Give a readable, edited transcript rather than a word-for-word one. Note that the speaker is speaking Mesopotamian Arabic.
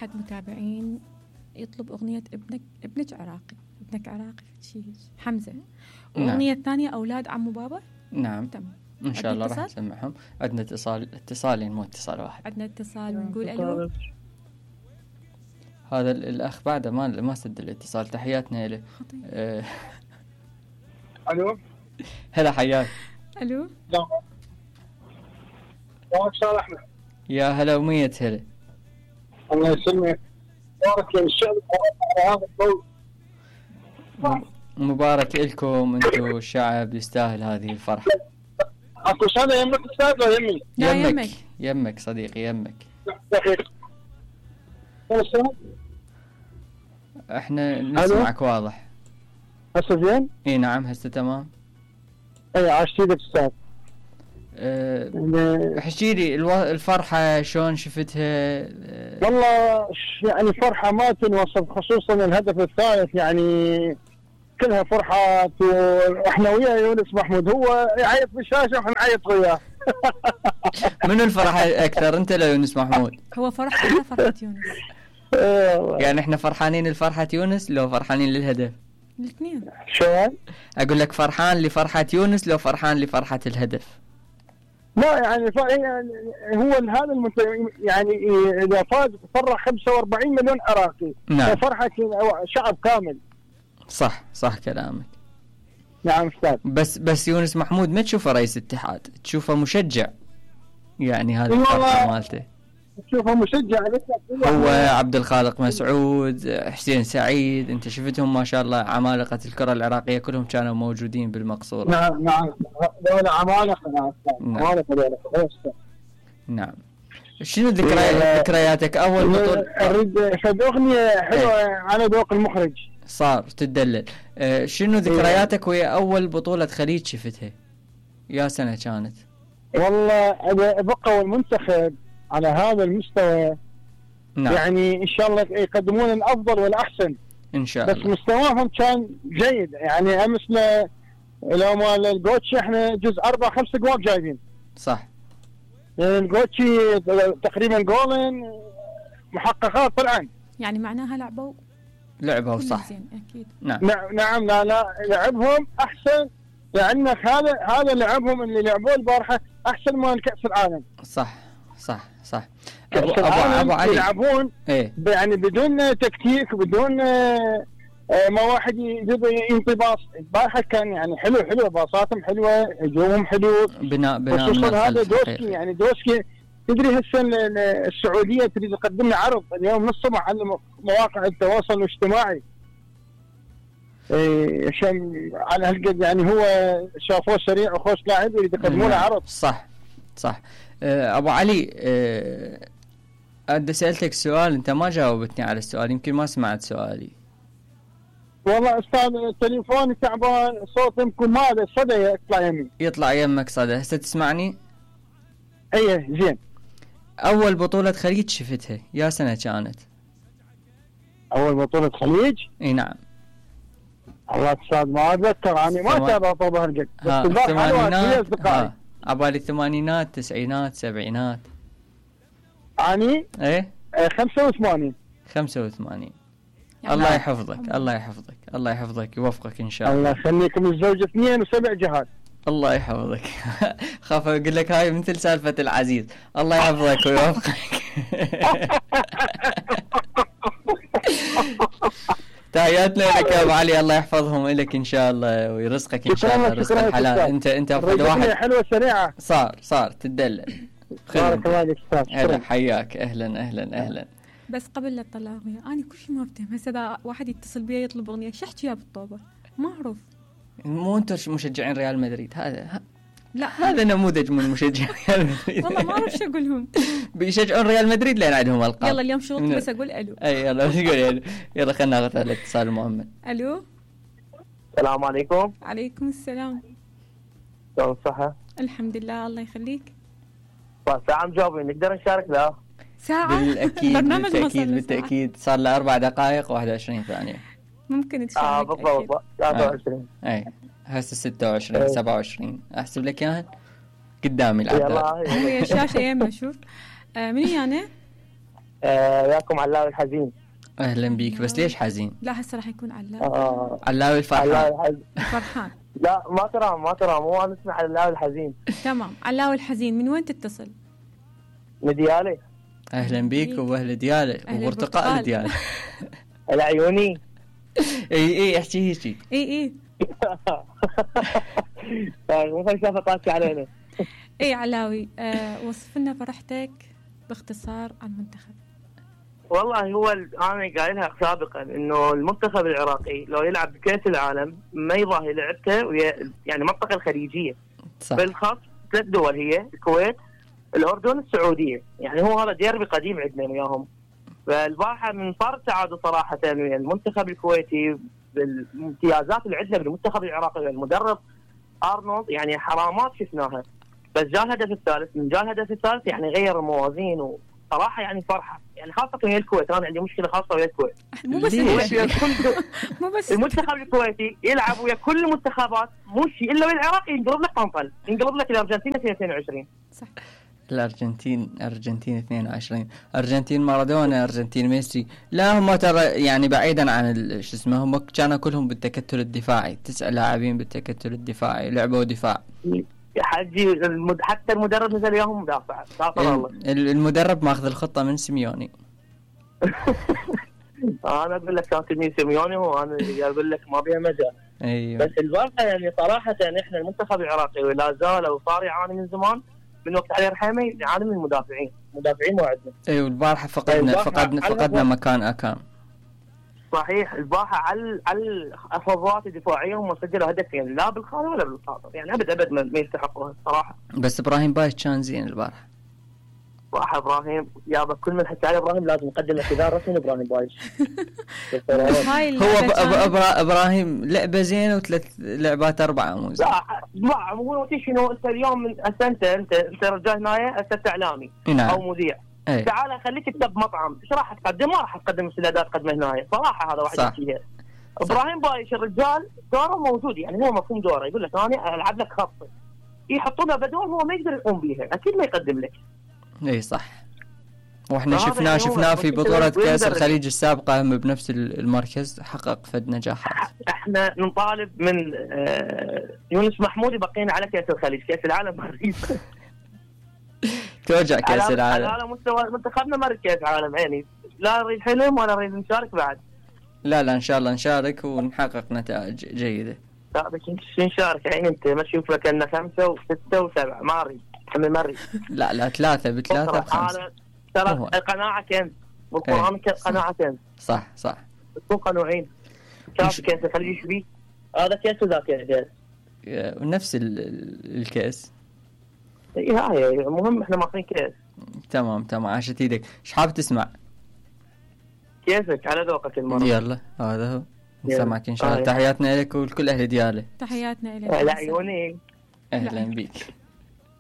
أحد متابعين يطلب أغنية ابنك عراقي، ابنك عراقي شيء حمزة، وأغنية ثانية أولاد عمو بابا. نعم تمام، إن شاء الله راح نسمعهم. عندنا اتصالين مو اتصال واحد. عندنا اتصال، نقول ألو. هذا الأخ بعده ما سد الاتصال. تحياتنا له. ألو هلا حياك. ألو أستاذ أحمد. يا هلا ومية هلا. الله يسلمك. بارك للشعب على هذا الضوء. مبارك لكم انتم، الشعب يستاهل هذه الفرحة. اكو سنة يمك استاذ ولا يمي؟ يمك صديقي يمك. احنا نسمعك واضح. هسه زين؟ اي نعم هسه تمام. اي عاشتيك استاذ. احكي لي الفرحة شلون شفتها؟ والله يعني فرحة ما تنوصف، خصوصا الهدف الثالث يعني كلها فرحات، واحنا ويا يونس محمود، هو يعيط بالشاشة واحنا نعيط وياه. منو الفرحة اكثر، انت ولا يونس محمود؟ هو فرحة يونس. يعني احنا فرحانين لفرحة يونس لو فرحانين للهدف؟ الاثنين. شلون؟ اقول لك فرحان لفرحة يونس لو فرحان لفرحة الهدف؟ لا يعني هو هذا يعني اذا فاز فرح 45 مليون عراقي. نعم. فرحة شعب كامل. صح كلامك. نعم استاذ. بس يونس محمود ما تشوفه رئيس اتحاد، تشوفه مشجع، يعني هذه الفرحة مالته. تشوفه مشجع. هو عبد الخالق مسعود، حسين سعيد، انت شفتهم ما شاء الله، عمالقة الكرة العراقية كلهم كانوا موجودين بالمقصورة. نعم دولة عمالقة. نعم. شنو ذكرياتك اول بطولة؟ اريد فد اغنية حلوة على ذوق المخرج. صار تدلل. شنو ذكرياتك ويا اول بطولة خليج شفتها؟ يا سنة كانت؟ والله بقوا المنتخب على هذا المستوى. نعم. يعني ان شاء الله يقدمون الافضل والاحسن ان شاء الله. بس مستواهم كان جيد، يعني امسنا لو مال الجوتشي احنا جزء 4-5 جواب جايبين. صح. الجوتشي تقريبا جولين محققات طلعن، يعني معناها لعبوا صح. اكيد. نعم لا لعبهم احسن، لانك هذا لعبهم اللي لعبوه البارحه احسن من كاس العالم. صح. ابو علي يلعبون ايه؟ يعني بدون تكتيك، بدون ما واحد ينطباص. البارحه كان يعني حلو، باصاتهم حلوه، هجومهم حلو، بناء خصوصا هذا دوسكي. يعني دوسكي تدري هسه السعوديه تريد تقدم لنا عرض اليوم من الصبح على مواقع التواصل الاجتماعي. عشان على هالقد يعني هو شافوه سريع وخوش لاعب يريد يقدموا له عرض. صح. ابو علي، أنا سألتك سؤال أنت ما جاوبتني على السؤال، يمكن ما سمعت سؤالي. والله أستاذ تليفوني تعبان، صوت يمكن ما له صدى يطلع يمك صدى. هسه تسمعني؟ أيه زين. أول بطولة خليج شفتها يا سنة كانت؟ أول بطولة خليج؟ إي نعم. الله أستاذ ما أتذكر، أنا ما أتابع طبعا هالقد. الثمانينات عبالي الثمانينات، تسعينات، سبعينات. يعني؟ إيه؟ 85. 85. الله يحفظك، الله يحفظك، يوفقك إن شاء الله. الله يخليكم الزوج 2 و7 جهات. الله يحفظك. خاف أقول لك هاي مثل سالفة العزيز. الله يحفظك ويوفقك. تحياتنا لك يا ابو علي، الله يحفظهم لك ان شاء الله ويرزقك ان شاء الله رزق الحلال. انت افضل واحد. حلوه سريعه. صار تدلل. بارك الله فيك استاذ. حياك. اهلا. بس قبل لا تطلع اغنيه انا كل شيء ما افتهم. هسه اذا واحد يتصل بي يطلب اغنيه شو احكي يا بالطوبه؟ ما اعرف. مو انتم مشجعين ريال مدريد؟ لا هذا نموذج من مشجعين ريال مدريد. والله ما اعرف شو اقولهم. بيشجعون ريال مدريد لين عندهم القاب. يلا اليوم شغلتي بس اقول الو. اي يلا ايش تقول؟ يلا خلينا ناخذ الاتصال المؤمن. الو. السلام عليكم. عليكم السلام. شلون الصحه؟ الحمد لله الله يخليك. ساعه مجاوبين نقدر نشارك لا؟ ساعه بالأكيد. بالتأكيد صار له 4 دقائق 21 ثانية. ممكن تشارك. بالضبط 23. اي هسه 26 27 احسب لك اياها قدامي العداد. هي الشاشه يمنا. شوف منو انا؟ وياكم علاوي الحزين. اهلا بيك، بس ليش حزين؟ لا هسه راح يكون علاوي. علاوي الفرحان. فرحان. لا ما ترى مو انا اسمع علاوي الحزين. تمام، علاوي الحزين. من وين تتصل؟ من ديالي. اهلا بيك واهل ديالي وبرتقال ديالي. العيوني. اي احكي هيك. اي مو خلي شافه طاكي علينا. اي علاوي، وصف لنا فرحتك باختصار عن المنتخب. والله هو انا قايلها سابقا انه المنتخب العراقي لو يلعب بكاس العالم ما يضاهي لعبته ويا يعني المنطقه الخليجيه. صح. بالخاص 3 دول هي الكويت، الاردن، السعوديه، يعني هو هذا ديربي قديم عندنا وياهم. فالبارحه من صار سعاده صراحه ويا المنتخب الكويتي بالامتيازات اللي عندنا بالمنتخب العراقي والمدرب ارنولد، يعني حرامات شفناها. بس جاء الهدف الثالث، من جاء الهدف الثالث يعني غير الموازين وصراحه يعني فرحه، يعني خاصه ويا الكويت. انا عندي مشكله خاصه ويا الكويت. مو بس مو بس المنتخب الكويتي يلعب ويا كل المنتخبات، مو شيء الا ويا العراق ينقلب لك طنطل، ينقلب لك الارجنتين 22. صح. الارجنتين 22، ارجنتين مارادونا، ارجنتين ميسي. لا هم ترى يعني بعيدا عن شو اسمه، هم كانوا كلهم بالتكتل الدفاعي، 9 لاعبين بالتكتل الدفاعي، لعبوا دفاع. يا حجي حتى المدرب نزل وياهم مدافع. الله المدرب ماخذ الخطه من سيميوني. انا اقول لك كان تلميذ سيميوني، وانا اقول لك ما بيها مجال. ايوه. بس الواقع يعني صراحه يعني احنا المنتخب العراقي ولا زال وصار يعاني من زمان، من وقت علي رحيمي يعاني من المدافعين مو عندنا. ايوه البارحه فقدنا مكان اكان. صحيح. البارحه على الافضات الدفاعيه هم سجلوا هدفين، لا بالخارج ولا بالخاطر، يعني ابد ما يستحقوها الصراحه. بس ابراهيم بايش كان زين البارحه. صراحه ابراهيم يابا كل من حكى على ابراهيم لازم نقدم اعتذار رسمي ابراهيم بايش. هو ابراهيم لعبه زينه وثلاث لعبات 4 مو زين. لا مو شنو انت اليوم من انت رجال هنا انت اعلامي او مذيع. تعال خليك تكتب مطعم، ايش راح تقدم؟ ما راح تقدم السلادات تقدمها هنا صراحه. هذا واحد يحكيها. ابراهيم بايش الرجال دوره موجود، يعني هو مفهوم دوره، يقول لك انا العب لك خط، يحطونه بدور هو ما يقدر يقوم بيها، اكيد ما يقدم لك. اي صح. واحنا شفناه في بطولة كأس الخليج السابقة هم بنفس المركز حقق فد نجاحات. احنا نطالب من يونس محمود يبقينا على كأس الخليج، كأس العالم ما نريد. توجع كأس العالم على مستوى منتخبنا ما نريد كأس عالم، يعني لا نريد حلم ولا نريد نشارك بعد. لا ان شاء الله نشارك ونحقق نتائج جيدة. لا بس نشارك، يعني انت ما تشوف لك ان 5 و6 و7 ما اريد، ما اريد. لا 3 ب3 ب5. ترى القناعة كنز، والقرآن قناعة كنز. صح تكون قنوعين. شاف كيس الخليج ايش بيه؟ هذا كيس وذاك كيس. ونفس الكيس. اي هاي المهم احنا ماخذين كيس. تمام عاشت ايدك. ايش حاب تسمع؟ كيفك على ذوقك المرة. يلا هذا هو. نسمعك ان شاء الله. تحياتنا لك ولكل اهل دياله. تحياتنا لك. العيوني. اهلا بيك.